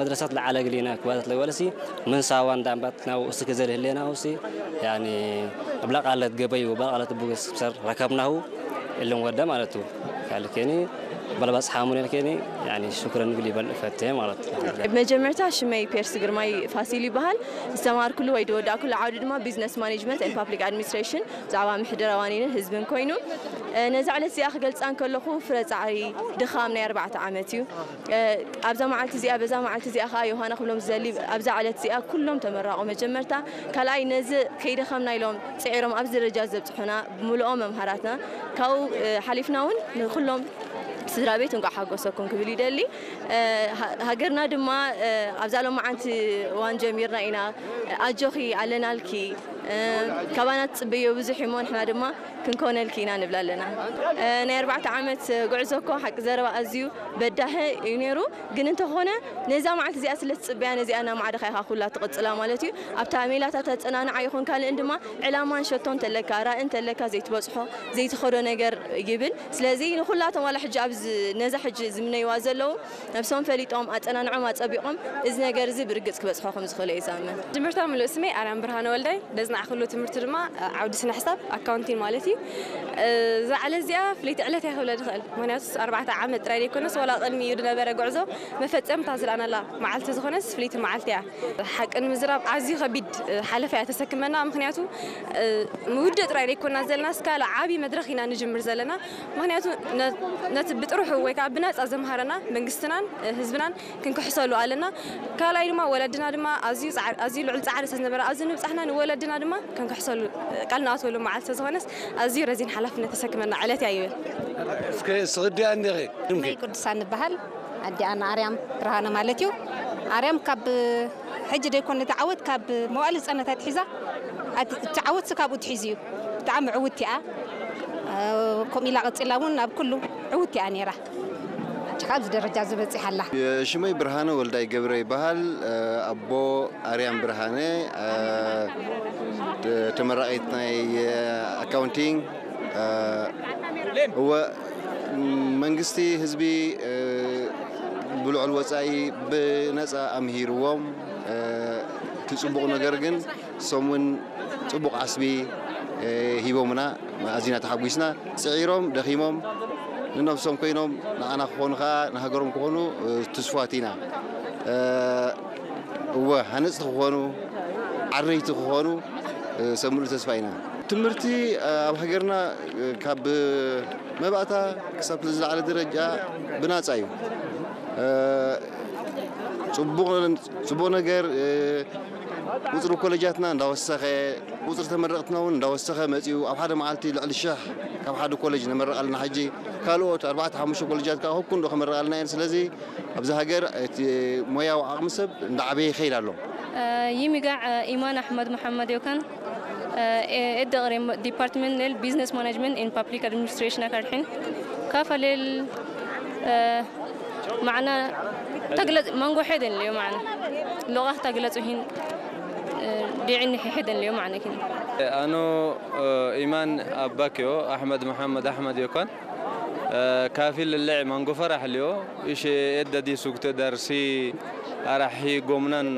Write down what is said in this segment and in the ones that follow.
መድረሳት ለዓለ ግሊና ክባለት ለወለሲ ምን ሳዋን ዳምባት ናው እስከ ዘልህሌና ውሲ ያኒ እብላ ቃለት ገበዩ እብላ ቃለት ቡግስ ሰር ረከብናሁ እልን ወደ ማለቱ ካልከኒ በለባጽ ሓሙን ልከኒ ያኒ ሽክረን ግሊ በል ፈተ ማለት። መጀመርታ ሽመይ ፔርስ ግርማይ ፋሲል ይበሃል። ዝተማርኩሉ ወይ ዝወዳእኩሉ ዓውዲ ድማ ቢዝነስ ማኔጅመንት ኤንድ ፓብሊክ ኣድሚኒስትሬሽን ብዛዕባ ምሕደራ ዋኒንን ህዝብን ኮይኑ ነዛ ዕለት እዚኣ ክገልፃ እንከለኹ ፍረ ፃዕሪ ድኻም ናይ ኣርባዕተ ዓመት እዩ። ኣብዛ መዓልቲ እዚኣ በዛ መዓልቲ እዚኣ ከዓ ዮሃና ክብሎም ዝደሊ ኣብዛ ዕለት እዚኣ ኩሎም ተመራቑ መጀመርታ ካልኣይ ነዚ ከይደኸምና ኢሎም ፅዒሮም ኣብዚ ደረጃ ዘብፅሑና ብምልኦም መምሃራትና ካብኡ ሓሊፍና እውን ንኩሎም ስድራ ቤት እንቋዕ ሓጎሰኩም ክብል ይደሊ። ሃገርና ድማ ኣብዛ ሎማዓንቲ እዋን ጀሚርና ኢና። ኣጆኺ ኣለናልኪ ካባና ትፅበዮ ብዙሕ እሞ ንሕና ድማ ክንኮነልኪ ኢና ንብል ኣለና። ናይ ኣርባዕተ ዓመት ጉዕዞ እኮ ሓቂ ዘረባ ኣዝዩ በዳሂ እዩ ነይሩ። ግን እንተኾነ ነዛ መዓልቲ እዚኣ ስለ ትፅበያ ነዚኣ እናማዕደኻ ኢኻ ኩላ ትቕፅላ ማለት እዩ። ኣብታ ሜላታ ተፀናንዓ ይኹን ካልእን ድማ ዕላማን ሸቶ እንተለካ ራኢ እንተለካ ዘይትበፅሖ ዘይትኸዶ ነገር ይብል። ስለዚ ንኹላቶም ዋላ ሕጂ ኣብዚ ነዛ ሕጂ ዝምነይዋ ዘለዉ ነብሶም ፈሊጦም ኣፀናንዖም ኣፀቢቖም እዚ ነገር እዚ ብርግፅ ክበፅሖ ከም ዝኽእሉ እየ ዝኣምን። ጅምርታ ምሉእ ስመይ ኣርያም ብርሃነ ወልዳይ ደዝናዕክሉ ትምህርቲ ድማ ዓውዲ ስነ ሕሳብ ኣካውንቲን ማለት እዩ። እዛ ዕለት እዚኣ ፍለይቲ ዕለት እያ ክብለ ዝኽእል ምክንያቱ ኣርባዕተ ዓመት ጥራይ ዘይኮነስ ዋላ ቅድሚ እዩ ዝነበረ ጉዕዞ መፈፀምታ ዝለኣናላ መዓልቲ ዝኾነስ ፍለይቲ መዓልቲ እያ። ሓቂ ንምዝራብ ኣዝዩ ከቢድ ሓለፋ እያ ተሰክመና ምክንያቱ ምውድእ ጥራይ ዘይኮና ዘለና እስካለ ዓብዪ መድረኽ ኢና ንጅምር ዘለና ምክንያቱ ነቲ ብጥርሑ ወይ ከዓ ብነፃ ዘምሃረና መንግስትናን ህዝብናን ክንክሕሰሉ ኣለና። ካልኣይ ድማ ወለድና ድማ ኣዝዩ ልዑል ፃዕሪ ስለ ዝነበረ ኣብዚ ንብፃሕና ንወለድና ድማ ክንክሕሰሉ ቃል ንኣትወሉ መዓልቲ ዝኾነስ ኣዝዩ ረዚን ሓላፍነት ተሰክመና ዕለት እያ ይብል። እስከ ስቕዲ ኣንዲኺ መይ ቅዱሳን ንበሃል ኣዲኣ ንኣርያም ብርሃነ ማለት እዩ። ኣርያም ካብ ሕጂ ደይኮነ ተዓወት ካብ መዋእሊ ህፃናት ኣትሒዛ እቲ ዓወት ካብኡ ትሒዙ እዩ። ብጣዕሚ ዕውት እያ። ከምኡ ኢላ ቀፂላ እውን ኣብ ኩሉ ዕውት እያ ነይራ። ሕጂ ኣብዚ ደረጃ ዝበፂሓ ኣላ። ሽመይ ብርሃነ ወልዳይ ገብረ ይበሃል። ኣቦ ኣርያም ብርሃነ ተመራቒት ናይ ኣካውንቲንግ እወ መንግስቲ ህዝቢ ብልዑል ወፃኢ ብነፃ ኣምሂርዎም እቲ ፅቡቕ ነገር ግን እሶም እውን ፅቡቕ ዓስቢ ሂቦምና ኣዚና ተሓጒስና ፅዒሮም ደኺሞም ንነብሶም ኮይኖም ንዓና ክኾኑ ከዓ ንሃገሮም ክኾኑ ትስፋት ኢና እወ ሃነፅቲ ክኾኑ ዓረይቲ ክኾኑ ሰብ ሙሉእ ተስፋ ኢና ትምህርቲ ኣብ ሃገርና ካብ መባእታ ክሳብ ዝለዓለ ደረጃ ብናፃ እዩ ፅቡቕ ነገር ቁፅሪ ኮለጃትና እንዳወሰኸ ቁፅሪ ተመረቕትና እውን እንዳወሰኸ መፂኡ ኣብ ሓደ መዓልቲ ልዕሊ ሽሕ ካብ ሓደ ኮለጅ ነመርቕ ኣለና ሕጂ ካልኦት ኣርባዕተ ሓሙሽተ ኮለጃት ከዓ ከኩንዶ ከመርቕ ኣለና እየን ስለዚ ኣብዚ ሃገር እቲ ሞያዊ ዓቕሚ ሰብ እንዳዓበየ ይኸይድ ኣሎ ይሚጋዕ ኢማን ኣሕመድ መሓመድ ዮካን ኤደ ቅሬም ዲፓርትመንት ኔል ቢዝነስ ማናጅመንት ኢን ፓብሊክ ኣድሚኒስትሬሽን ኣካድሒን ካፈሌል ማዕና ተግለጽ መንጎ ሐደን ልዮ ማዕና ሎቃ ተግለጽ ሂን ዲዕኒ ሐደን ልዮ ማዕና ኪን ኣኖ ኢማን ኣባክዮ ኣሕመድ መሓመድ ኣሕመድ ዮካን ካፊል ልዕ መንጎ ፈራሕ ልዮ እሽ ኤደዲ ሱግተ ደርሲ ኣራሒ ጎምናን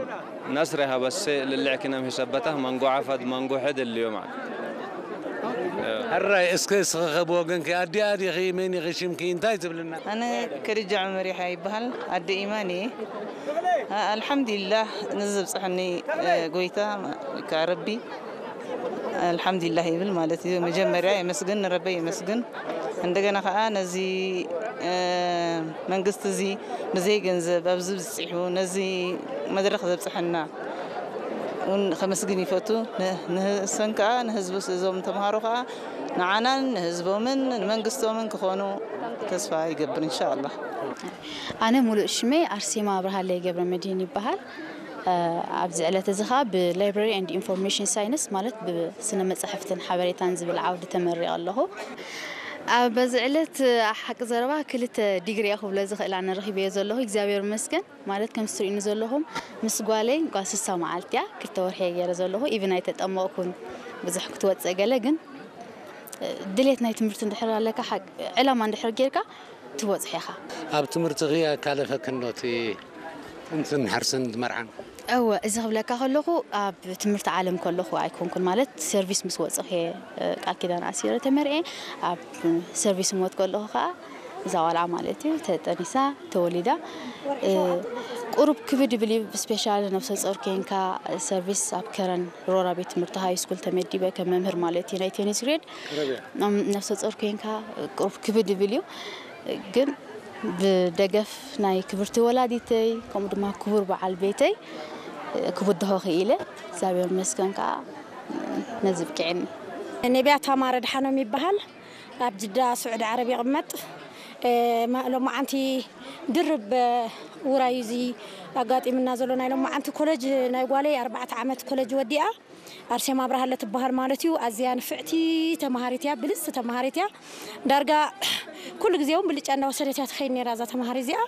ናስረ ሃበሰ ልልዕ ክነም ሂሰበታ መንጎ ዓፋድ መንጎ ሕድ ልዮ ማለት ሕራይ እስከ እስኸኸ ብወገንኪ ኣዲኣ ዲኺ መን ኢኺ ሽምኪ እንታይ ትብልና ኣነ ከድጃ ዑመር ይሓ ይበሃል ኣደ ኢማን እየ ኣልሓምዱሊላህ ንዚ ዘብፅሐኒ ጎይታ ረቢ ኣልሓምዱሊላህ ይብል ማለት እዩ መጀመርያ የመስግን ንረበይ የመስግን እንደገና ከዓ ነዚ መንግስቲ እዚ ብዘይ ገንዘብ ኣብዚ ብፅሒሑ ነዚ መድረክ ዘብፅሐና እውን ከመስግን ይፈቱ። ንሰን ከዓ ንህዝቡ እዞም ተምሃሮ ከዓ ንዓናን ንህዝቦምን ንመንግስቶምን ክኾኑ ተስፋ ይገብር እንሻ ኣላህ። ኣነ ሙሉእ ሽመይ ኣርሴማ ኣብርሃለይ ገብረመድህን ይበሃል። ኣብዚ ዕለት እዚ ከዓ ብ Library and Information Science ማለት ብስነ መፃሕፍትን ሓበሬታን ዝብል ዓውዲ ተመሪቐ ኣለኹ። በዚ ዕለት ሓቂ ዘረባ ክልተ ዲግሪ እየ ክብሎ ዝኽእል ኣነ ረኺበዮ ዘለኹ እግዚኣብሔር ይመስገን። ማለት ከምዚ ትሪኡኒ ዘለኹም ምስ ጓለይ ጓል ስሳ መዓልቲ እያ ክልተ ወርሒ እየ ገይረ ዘለኹ even ኣይተጠመቕኩን ብዙሕ ክትወፅእ ገለ ግን ድሌት ናይ ትምህርቲ እንድሕር ኣለካ ዕላማ እንድሕር ጌርካ ትበፅሖ ኢኻ። ኣብ ትምህርትኺ ኣካለፈክን ዶ እቲ እንትን ሓርሰን ዝመርዓን እወ፣ እዚ ክብለካ ከለኹ ኣብ ትምህርቲ ዓለም ከለኹ ኣይኮንኩን፣ ማለት ሰርቪስ ምስ ወፅኹ እየ ቃል ኪዳን ኣሲረ ተመርኤ። ኣብ ሰርቪስ ምወት ከለኹ ከዓ እዛ ቆልዓ ማለት እዩ ተጠኒሳ ተወሊዳ። ቁሩብ ክብድ ብል እዩ፣ ስፔሻል ነብሰ ፆር ኮንካ ሰርቪስ ኣብ ከረን ሮራ ቤት ትምህርቲ ሃይ ስኩል ተመዲበ ከም መምህር ማለት እዩ ናይ ቴኒስ ግሬድ። ነብሰ ፆር ኮንካ ቁሩብ ክብድ ብል እዩ፣ ግን ብደገፍ ናይ ክብርቲ ወላዲተይ ከምኡ ድማ ክቡር በዓል ቤተይ ክብድሆ ክኢለ እግዚኣብሔር መስገን ከዓ ነዚ ብቅዕኒ። ነቢያ ታማረ ድሓኖም ይበሃል። ኣብ ጅዳ ስዑዲ ዓረብ ይቕመጥ። ሎማዓንቲ ድርብ ውራይ እዚ ኣጋጢምና ዘሎ ናይ ሎማዓንቲ ኮለጅ ናይ ጓለይ ኣርባዕተ ዓመት ኮለጅ ወዲኣ ኣርሴማ ኣብርሃለ ትበሃል ማለት እዩ። ኣዝያ ንፍዕቲ ተምሃሪት እያ፣ ብልፅቲ ተምሃሪት እያ። ዳርጋ ኩሉ ግዜ እውን ብልጫ እንዳወሰደት እያ ትኸይድ ነይራ እዛ ተምሃሪ እዚኣ።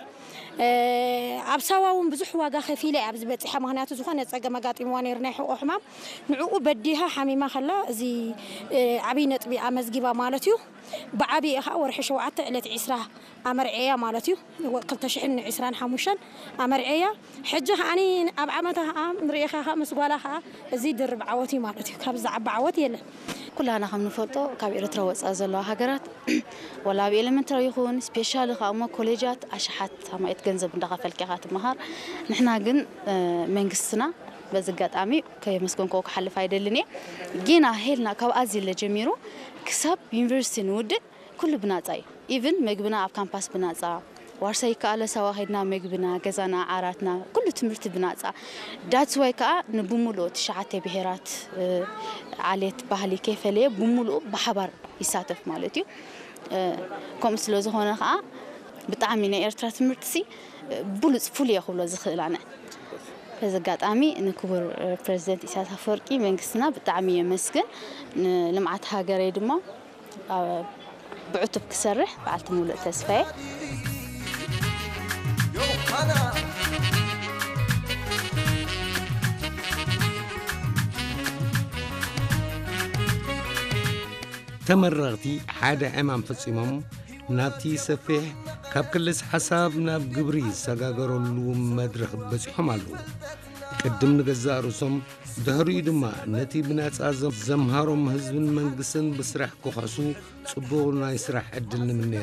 ኣብ ሳዋ እውን ብዙሕ ዋጋ ከፊለ እያ ኣብዚ በፂሓ። ምክንያቱ ዝኾነ ፀገም ኣጋጢምዋ ነይሩ ናይ ሕቆ ሕማም፣ ንዕኡ በዲሃ ሓሚማ ከላ እዚ ዓብይ ነጥቢ ኣመዝጊባ ማለት እዩ። ብዓብይ ከዓ ወርሒ ሸውዓተ ዕለት ዒስራ ኣመርዐያ ማለት እዩ። ክልተ ሽሕን ዕስራን ሓሙሽተን ኣመርዐያ። ሕጂ ከዓኒ ኣብ ዓመታ ከዓ ንርእኻ ከዓ ምስ ጓላ ከዓ እዚ ድርብ ዓወት እዩ ማለት እዩ። ካብ ዝዓቢ ዓወት የለን። ኩላና ከም ንፈልጦ ካብ ኤርትራ ወፃኢ ዘለዋ ሃገራት ወላ ኣብ ኤሌመንተሪ ይኹን ስፔሻሊ ከዓ እሞ ኮሌጃት ኣሽሓት ኣማኢት ገንዘብ እንዳኸፈልኪ ኢኻ ትመሃር። ንሕና ግን መንግስትና በዚ ኣጋጣሚ ከየመስገንክዎ ክሓልፍ ኣይደልን እየ። ጌና ሄልና ካብ ኣዚለ ጀሚሩ ክሳብ ዩኒቨርሲቲ ንውድእ ኩሉ ብናፃ እዩ። ኢቭን መግብና ኣብ ካምፓስ ብናፃ፣ ዋርሳይ ከኣለ ሳዋ ከይድና መግብና፣ ገዛና፣ ዓራትና፣ ኩሉ ትምህርቲ ብናፃ። ዳትስ ዋይ ከዓ ንብሙሉኡ ትሽዓተ ብሄራት ዓሌት ባህሊ ከይፈለየ ብሙሉኡ ብሓባር ይሳተፍ ማለት እዩ። ከምኡ ስለ ዝኾነ ከዓ ብጣዕሚ ናይ ኤርትራ ትምህርትሲ ብሉፅ ፍሉይ እየ ክብሎ ዝኽእል ኣነ። በዚ ኣጋጣሚ ንክቡር ፕረዚደንት ኢሳያስ ኣፈወርቂ መንግስትና ብጣዕሚ የመስግን። ንልምዓት ሃገረይ ድማ ብዕቱብ ክሰርሕ በዓልቲ ሙሉእ ተስፋ እየ። ተመረቕቲ ሓደ ዕማም ፈጺሞም ናብቲ ሰፊሕ ካብ ክልስ ሓሳብ ናብ ግብሪ ዝሰጋገረሉ መድረኽ በጺሖም ኣለዉ። ቅድም ንገዛእ ርእሶም ድሕሪኡ ድማ ነቲ ብናጻ ዘምሃሮም ህዝብን መንግስትን ብስራሕ ክኸሱ ጽቡቕ ናይ ስራሕ ዕድል ንምነ።